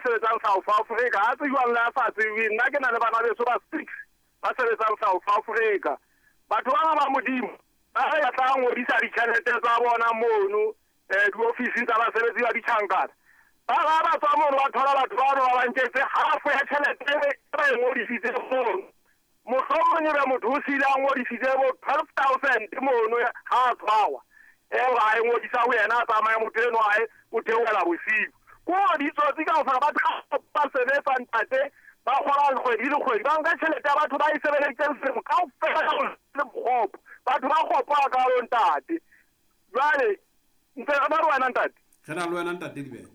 sebetsang South Africa, a tsejwang le a sa tsejweng. Nna ke na le bana beso ba 6 ba sebetsang South Africa. Batho bana ba Modimo ba re ba tla ngodisa ditjhelete tsa bona mono diofising tsa basebetsi ba ditjhankana. Ba ba ba tswa mono ba thola batho bano ba ba nketse half ya tjhelete e ba e ngodisitseng mono. Mohlomong ebe motho o siile a ngodisitse bo 12 000 mono ha a tshwarwa. Eo a e ngodisa ho yena a tsamaye motho eno ae o theohela bosiu. Ko ditsotsi kaofela batho ba sebetsa ntate ba kgola kgwedi le kgwedi ba nka tjhelete ya batho ba e sebeleditseng selemo kaofela ka le bokgopo. Batho ba kgopo hakalo ntate. Jwale ntse re ba re wena ntate. Re na le wena ntate Dibete.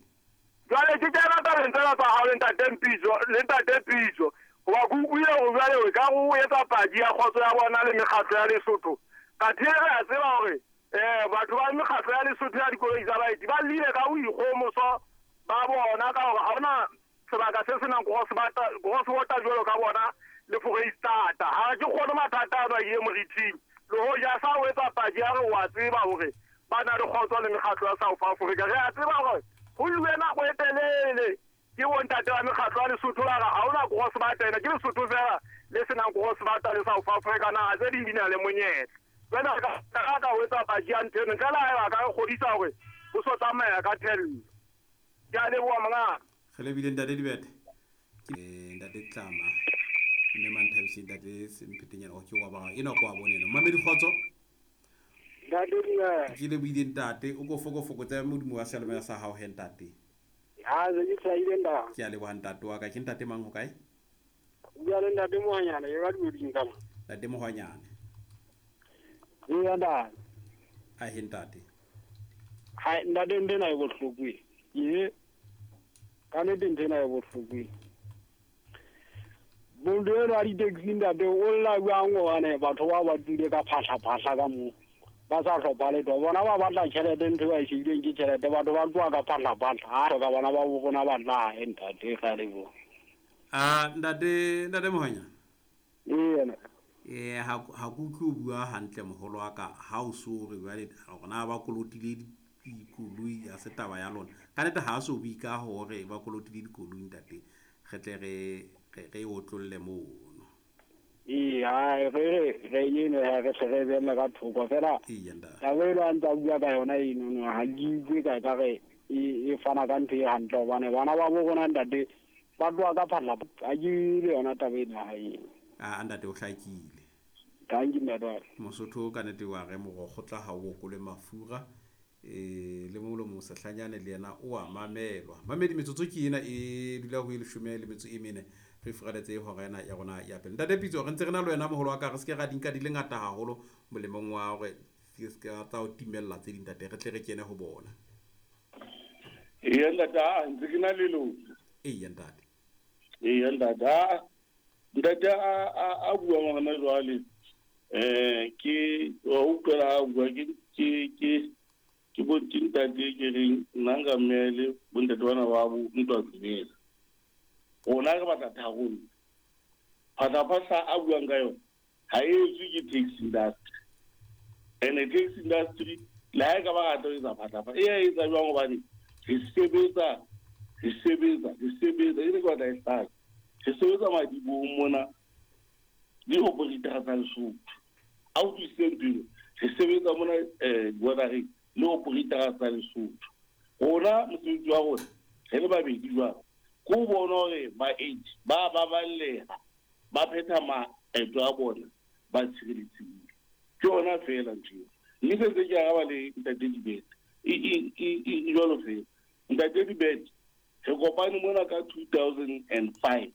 Jwale ke kena tabeng tsena tsa hao le ntate Mpitso le ntate Pitso. Hoba ke utlwile hore jwale o ka re o etsa paki ya kgotso ya bona le mekgatlo ya Lesotho. Kathe re a tseba hore batho ba mekgatlo ya Lesotho ya dikoloi tsa baeti ba llile ka boikgohomoso ba bona ka hore ha hona sebaka se senang cross border jwalo ka bona le Foreisetata. Ha ke kgone mathata ano a ile moriting. Le hoja sa o etsa paki ya re wa tseba hore ba na le kgotso le mekgatlo ya South Africa. Re a tseba hore ho ilwe nako e telele ke bontate ba mekgatlo ya Lesotho ba re ha hona cross border ena, ke Lesotho fela le senang cross border le South Africa, naha tse ding di na le monyetla. Jwale re ka ka ho etsa paki ya ntho eno ntle le haeba ka re kgodisa hore ho so tsamaya ka thello. Ke a leboha mongaka. Re lebile ntate Dibete. Ntate Tlama. Mme Manthabiseng ntate Semphetenyana o ke wa ba ena kwa bone ena. Mamedi kgotso. Ntate Dibete. Ke lebohile ntate. O ko foko fokotsa modumo wa seyalemoya sa hao he ntate. Ha se ke hlahile ntate. Ke a leboha ntate wa ka. Ke ntate mang ho kae? O bua le ntate Mohwanyane ke ka Dikoding ka mo. Ntate Mohwanyane. Ee ntate. A he ntate. Ha ntate ntho ena e bohloko e. Ee. Ka nnete ntho ena e bohloko e. Motho enwa wa di-taxi ntate o lla jwang hobane batho bao ba tswile ka phahla-phahla ka moo. Ba sa hlopha letho. Bona ba batla tjhelete ntho e ba e shebileng ke tjhelete. Batho ba tloha ka phahla-phahla. Ha hloka bana ba bo rona ba tla hae ntate re a leboha. A ntate ntate Mohwanyane. Ee ntate. Ha ha ke utlwe o bua hantle moholo wa ka ha o so re jwale hore na ba kolotile dikoloi ha se taba ya lona. Ka nnete ha so bue ka hore ba kolotile dikoloi ntate. Re tle re re otlolle mono. Ee, ha re re re eno ha re hle re behelle ka thoko fela. Eya ntate. Taba eno a ntsa bua ka yona eno ha ke utlwe ka ka re e fana ka ntho e hantle hobane bana ba bo rona ntate ba tloha ka phahla ha ke le yona taba eno ha eno. A ntate o hlakile. Thank you ntate. Mosotho ka nnete wa re morokgo tla ha o okole mafura. Le molomo sehlanyane le yena o a mamelwa. Mamedi metsotso ke ena e dula ho e leshome le metso e mene. Re furaletse hora ena ya rona ya pele. Ntate Pitso re ntse re na le wena moholo wa ka re se ke ra di nka di le ngata haholo molemong wa hore se ke tsa o timella tse ding ntate re tle re kene ho bona. Eya ntate, a ntse ke na le lona. Eya ntate. Eya ntate, ntate a buang hona jwale ke wa utlwela ha bua ke ke ke ke bo ke ntate ke reng nna nka mmele bontate bana ba bo ntwa tsebela. Rona re batla tharollo. Phahla-phahla a buang ka yona ha e etswe ke taxi industry. And taxi industry le ha e ka ba rata ho etsa phahla-phahla e a etsa jwang hobane re sebetsa re sebetsa re sebetsa e re ke batla e hlaka. Re sebetsa madibohong mona le operator tsa Lesotho. A utlwisiseng pelo re sebetsa mona bordereng le operator tsa Lesotho. Rona mosebetsi wa rona re le babedi jwalo ke ho bona hore baeti ba baballeha ba phetha maeto a bona ba tshireletsehile. Ke yona feela ntho eo. Mme se ntse ke araba le ntate Dibete e jwalo feela. Ntate Dibete re kopane mona ka 2005.